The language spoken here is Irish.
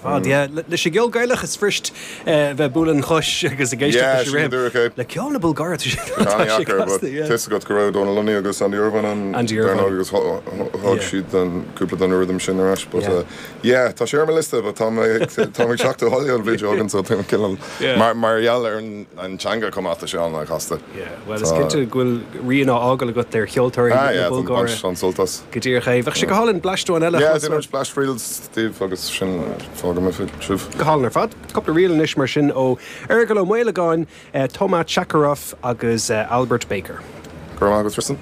fad, yeah. Leis an gceol Gaelach is fuirist bheith ag bualadh an chois agus ag éisteacht leis an rithim. Le ceol na Bulgáire tá sé casta, yeah. Tá 'fhios agat go raibh Dónal Lunny agus Andy Irvine ann Andy Irvine. Dar ndóigh agus thug siad cúpla den rithim sin ar ais but yeah tá sé ar mo liosta but tá mé ag teacht abhaile an bhliain seo chugainn so tá mé cineál mar gheall ar an teanga chomh maith tá sé an-chasta. Yeah, bhuel is cinnte go bhfuil rian á fhágáil agat ar cheoltóirí Ah na yeah, tá Bulgáire. baint an-sult as. Go díreach é. Bheadh sé go hálainn bleaist amháin eile a Yeah, chlos déanfaidh uait. muid bleaist ríl daoibh agus sin fágfaidh mé sibh. Go hálainn ar fad. Cúpla ríl anois mar sin ó Fheargal Ó Maolagáin, Toma Chakarov agus Albert Baker. Go raibh maith agat Tristan.